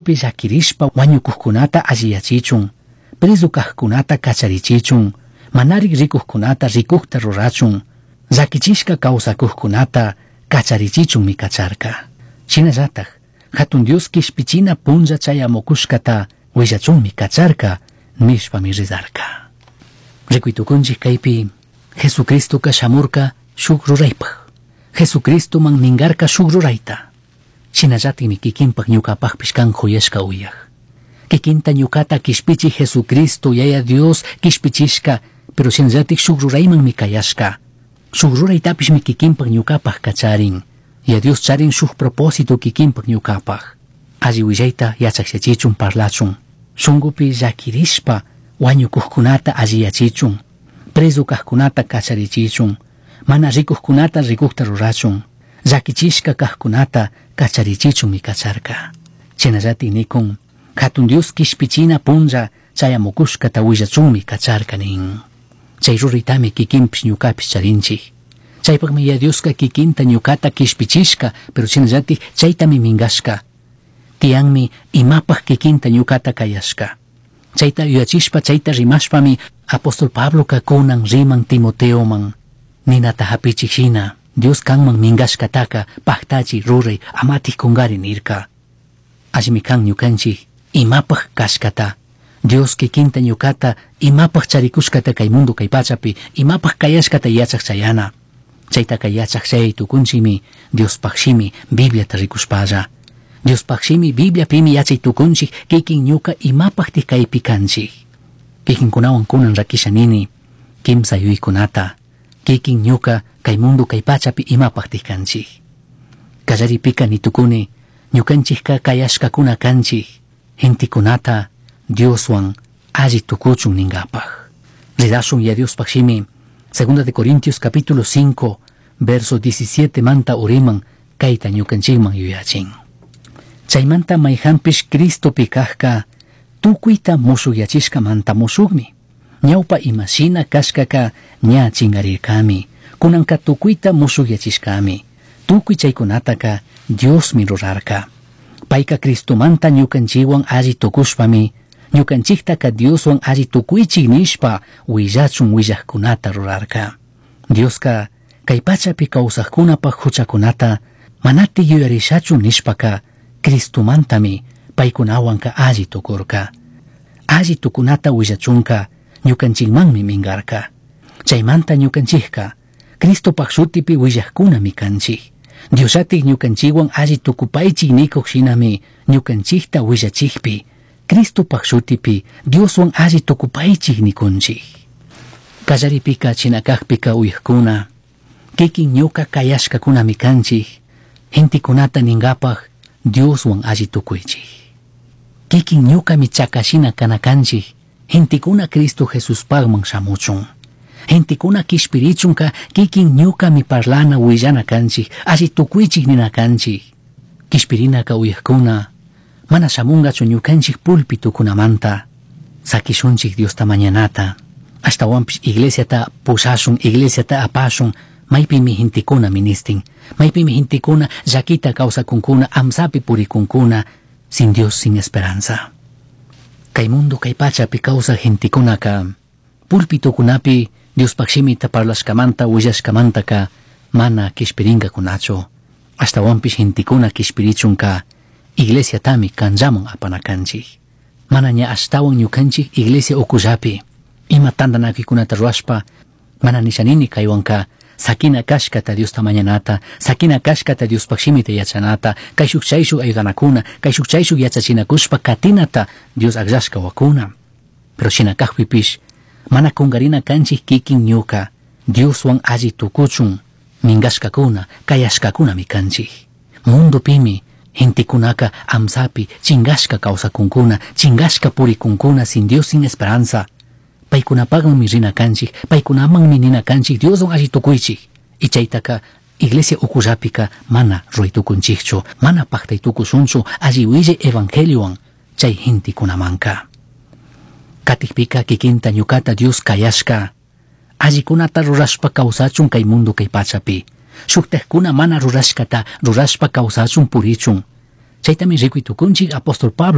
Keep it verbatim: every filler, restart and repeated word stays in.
Shungupi llakirishpa wañukuqkunata alliyachichun, preso kaqkunata kacharichichun, manarik rikuqkunata rikuqta rurachun, llakichishka kawsakuqkunata kacharichichunmi kacharka. Shinallatak, hatun Dios kishpichina punlla chayamukushkata willachunmi kacharka nishpami rizarka. Rikuytukunchik kaypi Jesucristoka shamurka shuk ruraypaq. Jesucristoman mingarka shuk rurayta. Shinallatikmi kikinpak ñuqapaqpish kan khuyashka uyaq. Kikinta ñuqata kishpichi Jesucristo Yaya Dios kishpichishka, pero shinallatik shuk ruraymanmi kayashka. Shuk ruraytapishmi kikinpak ñuqapaq kacharin. Ya Dios charin shuk propósito kikinpak ñuqapaq. Alli willayta yachakyachichun parlachun. Shungupi llakirishpa wañukuqkunata alliyachichun. Preso kaqkunata kacharichichun. Mana rikuqkunata rikuqta rurachun. Llakichishka kaqkunata kacharichichunmi kacharka. Shinallatik nikun, hatun Dios kishpichina punlla chayamukushkata willachunmi kacharka nin. Chay ruraytami kikinpish ñukapish charinchik. Chaypaqmi ya Dioska kikinta ñukata kishpichishka, pero shinallatik chaytami mingashka. Tiyanmi imapaq kikinta ñukata kayashka. Chayta yuyachishpa chayta rimashpami apóstol Pabloka kunan riman Timoteoman. Ninata hapichik shina, Dios kanman mingashkataka paktachi ruray amatik kungari nirka. Allimi kan ñukanchik imapaq kashkata. Dios kikinta ñukata imapaq charikushkata kay mundo kay pachapi imapaq kayashkata yachaq chayana. Chaytaka yachaq chay tukunchikmi Diospaq shimi Bibliata rikushpalla. Diospaq shimi Bibliapimi yachay tukunchik kikin ñuka imapaqtik kaypi kanchik. Kikinkunawan kunan rakisha nini kimsa yuykunata kikin ñuka kay mundo kay pachapi imapaqtik kanchik. Kallaripika nitukuni ñukanchikka kayashkakuna kanchik gentekunata Dioswan alli tukuchun ninkapaq. Ridashun ya Diospaq shimi Segunda de Corintios capítulo cinco verso diecisiete manta uriman kayta ñukanchikman yuyachin. Chaymanta mayhanpish Cristopi kaqka tukuyta mushukyachishkamanta mushukmi. Ñawpa imashina kashkaka ña chingarirkami. Kunanka tukuyta mushukyachishkami. Tukuy chaykunataka Diosmi rurarka. Payka Cristomanta ñukanchikwan alli tukushpami ñukanchiktaka Dioswan alli tukuychik nishpa willachun willaqkunata rurarka. Dioska kay pachapi kawsaqkunapaq huchakunata manati yuyarishachu nishpaka Cristomantami paykunawanka alli tukurka. Alli tukunata willachunka ñukanchikmanmi mingarka. Chaymanta ñukanchikka Cristopaq shutipi willaqkunami kanchik. Diosllatik ñukanchikwan alli tukupaychik nikuq shinami ñukanchikta willachikpi Cristopaq shutipi Dioswan alli tukupaychik nikunchik. Kallaripika chinakaqpika uyaqkuna, kikin ñuka kayashkakunami kanchik, gentekunata ninkapaq Dioswan alli tukuychik. Kikin ñukami chakashina kana kanchik, gentekuna Cristo Jesuspaqman shamuchun. Gentekuna kishpirichunka kikin ñukami parlana willana kanchik, alli tukuychik nina kanchik. Kishpirinaka uyaqkuna, mana shamungachu ñukanchik pulpitukunamanta. Sakishunchik Diosta mañanata. Ashtawanpish iglesiata pushashun, iglesiata apashun, maypimi gentekuna ministin, maypimi gentekuna llakita kawsakunkuna, amsapi purikunkuna, sin Dios, sin esperanza. Kay mundo kay pachapi kawsaq gentekunaka pulpitukunapi Diospaq shimita parlashkamanta willashkamantaka mana kishpirinkakunachu. Ashtawanpish gentekuna kishpirichunka iglesiatami kanllaman apana kanchik. Mana ña ashtawan ñukanchik iglesia ukullapi ima tantanakuykunata ruwashpa mana nishanini kaywanka sakina kashkata Diosta mañanata, sakina kashkata Diospaq shimita yachanata, kayshuk chayshuk ayudanakuna, kayshuk chayshuk yachachinakushpa katinata Dios akllashka wakuna. Pero shina kaqpipish mana kunkarina kanchik kikin ñuka Dioswan alli tukuchun minkashkakuna kayashkakunami kanchik. Mundopimi gentekunaka amsapi chingashka kawsakunkuna, chingashka purikunkuna sin Dios, sin esperanza. Paykunapaqmanmi rina kanchik, paykunamanmi nina kanchik Dioswan alli tukuychik. Y chaytaka iglesia ukullapika mana ruray tukunchikchu, mana paqtay tukushunchu alli willay evangeliowan chay gentekunamanka. Katikpika kikinta ñukata Dios kayashka, allikunata rurashpa kawsachun kay mundo kay pachapi. Shuktajkuna mana rurashkata rurashpa kawsachun purichun. Chaytami rikuy tukunchik apóstol Pablo